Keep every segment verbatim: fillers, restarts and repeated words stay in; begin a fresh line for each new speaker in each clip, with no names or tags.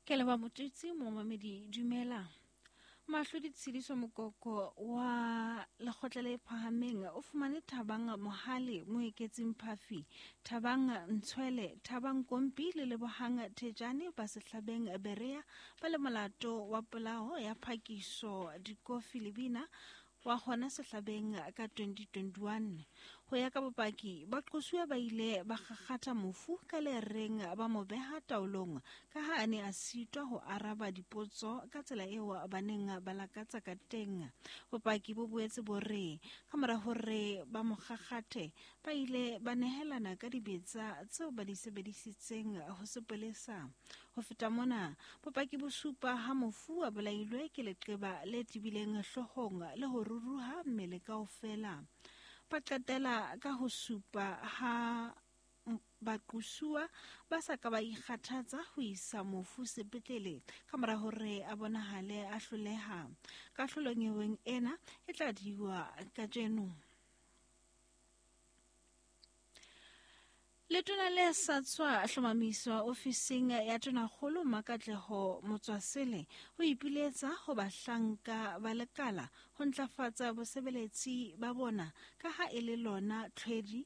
Ke leba motsetsi momamedi dumela. Mahlodi Tshidiso Mokoko wa lekgotla le phahameng o fumane Thabang Mohale, Moeketsing Phafi, Thabang Ntshwele, Thabang Kompi le Lebohang Thejane ba Sehlabeng Berea ba le molato wa polao ya phakiso dikofi lebina wa hona Sehlabeng ka twenty twenty-one. Ho ya ka bopaki, baqosuwa ba ile ba kgakgatha mofu ka lereng ba mo beha taolong ka ha a ne a sitwa ho araba dipotso ka tsela eo ba neng ba lakatsa ka teng. Bopaki bo boetse bo re ka mora hore ba mo kgakgathe, ba ile ba nehelana ka dibetsa tseo ba di sebedisitseng ho sepolesa. Ho feta mona, bopaki bo supa ha mofu a bolailwe ke leqeba le tebileng hloohong le ho ruruha mmele kaofela. Ba qetela ka ho supa ha baqosuwa ba sa ka ba ikgathatsa ho isa mofu sepetlele ka mora hore a bonahale a hloleha. Kahlolo nyeweng ena e tla diwa kajeno. Letona le sa tswa hlomamiswa ofising ya Tonakgolo Makatleho Motswasele ho ipiletsa ho bahlanka ba lekala ho ntlafatsa bosebeletsi ba bona ka ha e le lona tlhwedi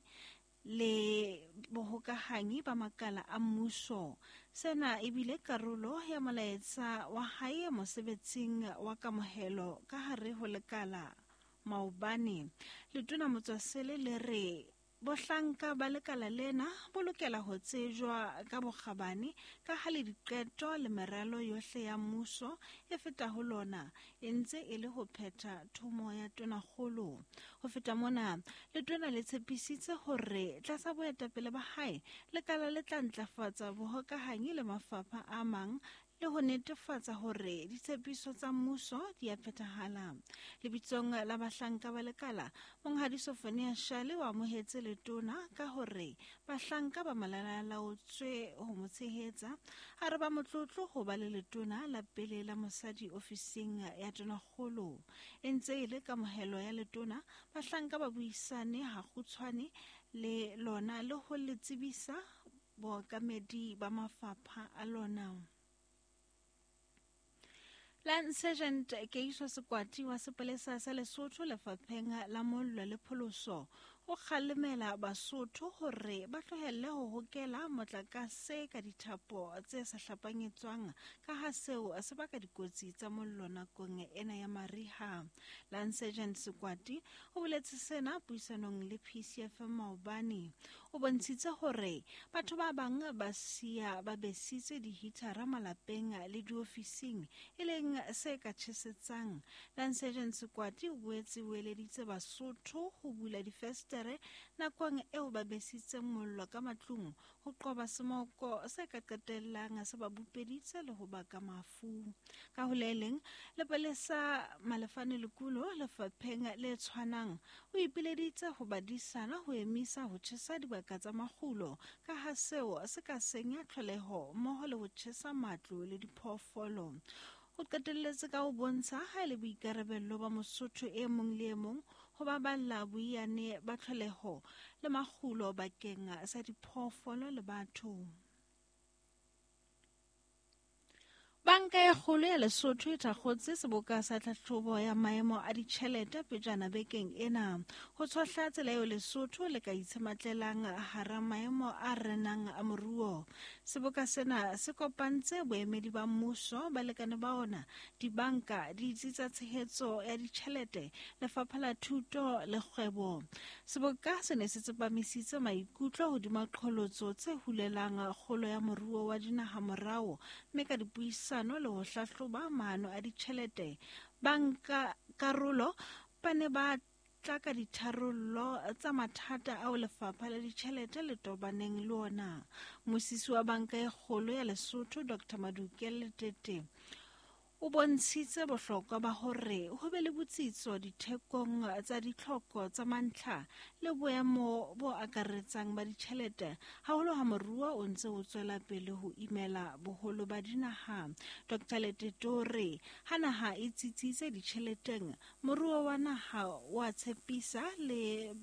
le bohokahanyi ba makala a mmuso. Sena ebile karolo ya molaetsa wa hae mosebetsing wa kamohelo ka hare ho lekala maobane. Letona Motswasele le re bohlanka ba lekala lena bo lokela ho tsejwa ka bokgabane ka ha le diqeto le meralo yohle ya mmuso e feta ho lona e ntse e le ho phetha thomo ya Tonakgolo. Ho feta mona, letona le tshepisitse hore tlasa boetapele ba hae lekala le tla ntlafatsa bohokahanyi le mafapha a mang le ho netefatsa hore ditshepiso tsa mmuso di a phethahala. Lebitsong la bahlanka ba lekala, Monghadi Sofonia Shale o amohetse letona ka hore bahlanka ba malalalaotswe ho mo tshehetsa. A re ba motlotlo ho ba le letona la pele la mosadi ofising ya Tonakgolo. E ntse e le kamohelo ya letona, bahlanka ba buisane hakgutshwane le lona le ho le tsebisa bookamedi ba mafapha a lona. Lance Sergeant Keiso Sekwati wa sepolesa sa Lesotho lefapheng la mollo le pholoso o kgalemela Basotho hore ba tlohelle ho hokela motlakase ka dithapo tse sa hlapanyetswang ka ha seo se baka dikotsi tsa mollo nakong ena ya mariha. Lance Sergeant Sekwati o boletse sena puisanong le P C F M maobane. O bontshitse hore batho ba bang ba siya ba besitse dihithara malapeng le diofising e leng se ka tjhesetsang. Lance Sergeant Sekwati o boetse o eleditse Basotho ho bula difestere nakong eo ba besitseng mollo ka matlung ho qoba semoko se ka qetellang se ba bupeditse le ho baka mafu. Ka ho le leng, lepolesa Malefane Lekulo lefapheng le tshwanang o ipileditse ho badisana ho emisa ho tjhesa dibaka tsa makgulo ka ha seo se ka senya tlholeho mmoho le ho tjhesa matlo le diphoofolo. O qetelletse ka ho bontsha ha e le boikarabello ba Mosotho e mong le e mong ho baballa boiyane ba tlholeho le makgulo bakeng sa diphoofolo le batho. Banka e kgolo ya Lesotho e thakgotse seboka sa tlhahlobo ya maemo a ditjhelete pejana bekeng ena ho tshohla tsela eo Lesotho le ka itshematlelang hara maemo a renang a moruo. Seboka sena se kopantse boemedi ba mmuso, balekane ba ona, dibanka, ditsi tsa tshehetso ya ditjhelete, lefapha la thuto le kgwebo. Seboka se ne se tsepamisitse maikutlo hodima qholotso tse hulelang kgolo ya moruo wa dinaha morao, mme ka dipuisano le ho hlahloba maano a ditjhelete, banka karolo ba ne ba tla ka ditharollo tsa mathata ao lefapha la ditjhelete le tobaneng le ona. Mmusisi wa banka e kgolo ya Lesotho Doctor Maduke Letete o bontshitse bohlokwa ba hore ho be le botsitso dithekong tsa ditlhoko tsa mantlha le boemo bo akaretsang ba ditjhelete, haholo ha moruo o ntse o tswela pele ho imela boholo ba dinaha. Doctor Letete o re ha naha e tsitsitse ditjheleteng, moruo wa naha wa tshepisa le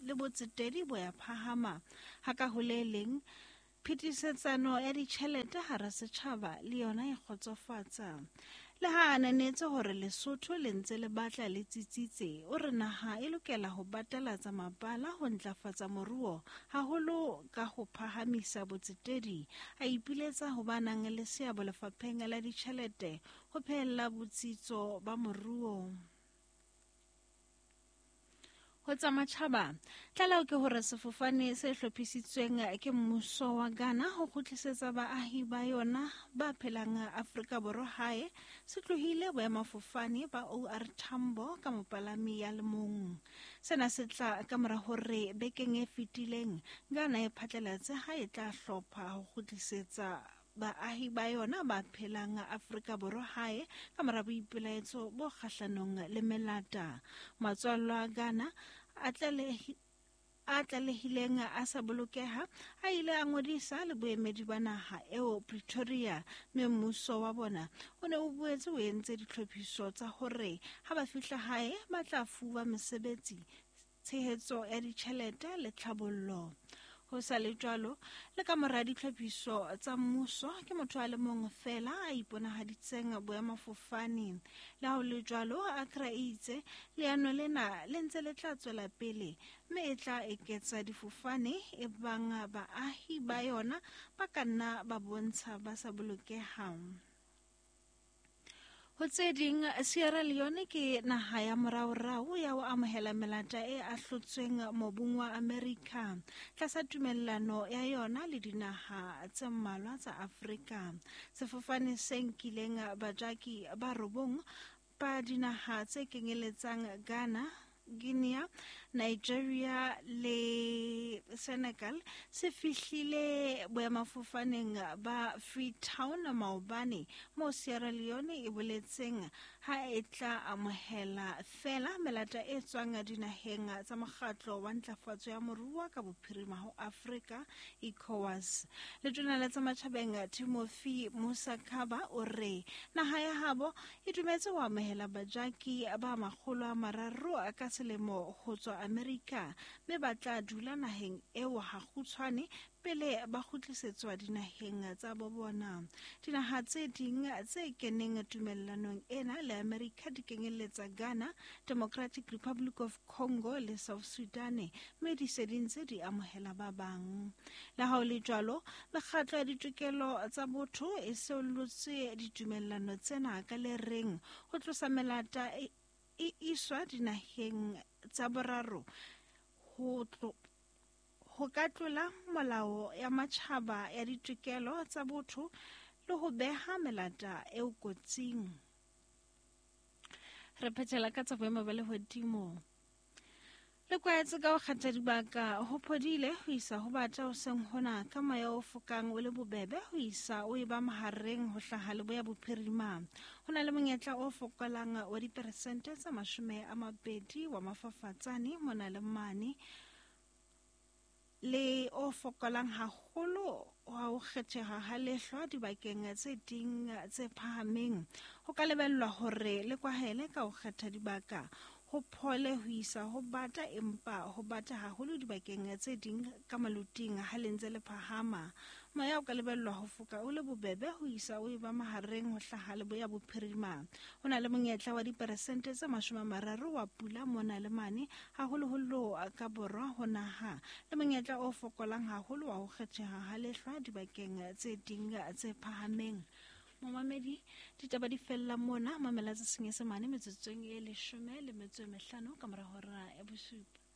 le botsetedi bo ya phahama. Ha ka ho le leng, Phetisetsano ya ditjhelete hara setjhaba le yona e kgotsofatsa. Le ha a ananetse hore Lesotho le ntse le batla le tsitsitse, o re naha e lokela ho batalatsa mabala ho ntlafatsa moruo haholo ka ho phahamisa botsetedi. A ipiletsa ho ba nang le seabo lefapheng la ditjhelete ho phehella botsitso ba moruo. Ho tsa matjhaba, tlaleho ke hore sefofane se hlophisitsweng ke mmuso wa Ghana ho kgutlisetsa baahi ba yona ba phelang Afrika Borwa hae se tlohile boemafofane ba O R Tambo ka mopalami ya le mong. Sena se tla ka mora hore bekeng e fetileng Ghana e phatlalatse ha e tla hlopha ho kgutlisetsa baahi ba yona ba phelang Afrika Borwa hae ka mora boipelaetso bo kgahlanong le melata. Matswallo a Ghana a a tlalehileng a sa bolokeha a ile a ngodisa le boemedi ba naha eo Pretoria, mme mmuso wa bona o ne o boetse o entse ditlhophiso tsa hore ha ba fihla hae ba tla fuwa mesebetsi, tshehetso ya ditjhelete le tlhabollo. Ho sa le jwalo, le ka mora ditlhophiso tsa mmuso ke motho a le mong feela a iponahaditseng boemafofane. Le ha ho le jwalo, Accra e itse leano lena le ntse le tla tswela pele mme e tla eketsa difofane ebang baahi ba yona ba ka nna ba bontsha ba sa bolokehang. Ho tse ding, Sierra Leone ke naha ya moraorao ya ho amohela melata e ahlotsweng mobung wa Amerika tlasa tumellano ya yona le dinaha tse mmalwa tsa Afrika. Sefofane se nkileng bajaki ba robong ba dinaha tse kenyeletsang Ghana, Guinea, Nigeria le Senegal se fihlile boemafofaneng ba Freetown maobane, moo Sierra Leone e boletseng ha e tla amohela feela melata e tswang dinaheng tsa mokgatlo wa ntlafatso ya moruo ka bophirima ho Afrika, ECOWAS. Letona la tsa matjhabeng Timothy Musa Kaba o re naha ya habo e dumetse ho amohela bajaki ba makgolo a mararo ka selemo ho tswa Amerika, mme ba tla dula naheng eo ha kgutshwane pele ba kgutlisetswa dinaheng tsa bo bona. Dinaha tse ding tse keneng tumellanong ena le Amerika di kenyeletsa Ghana, Democratic Republic of Congo le South Sudan, mme di se di ntse di amohela ba bang. Le ha ho le jwalo, mekgatlo ya ditokelo tsa botho e seollotse ditumellano tsena ka le reng ho tlosa melata e e iswa dinaheng tsa boraro ho ho ka tlola molao ya matjhaba ya ditokelo tsa botho le ho beha melata eo kotsing. Re phethela ka tsa boemo ba lehodimo. Le kwaetse ka ho kgetha dibaka ho phodile ho isa ho bata hoseng hona ka moya o fokang o le bobebe ho isa o eba mahareng ho hlaha leboya bophirima. Ho na le monyetla o fokolang wa diperesente tsa mashome a mabedi wa mafafatsane mona le mane, le o fokolang haholo wa ho kgetheha ha lehlwa dibakeng tse ding tse phahameng. Ho ka lebellwa hore le kwahele ka ho kgetha dibaka ho phole ho isa ho bata, empa ho bata haholo dibakeng tse ding ka maloting ha le ntse le phahama. Moya o ka lebellwa ho foka o le bobebe ho isa o eba mahareng ho hlaha leboya bophirima. Ho na le monyetla wa diperesente tse mashome a mararo wa pula mona le mane, haholoholo ka borwa ho naha, le monyetla o fokolang haholo wa ho kgetheha ha lehlwa dibakeng tse ding tse phahameng. Momamedi, ditaba di fella mona, mamela tsa Senyesemane metsotsong e leshome le metso e mehlano ka mora hora ya bosupa.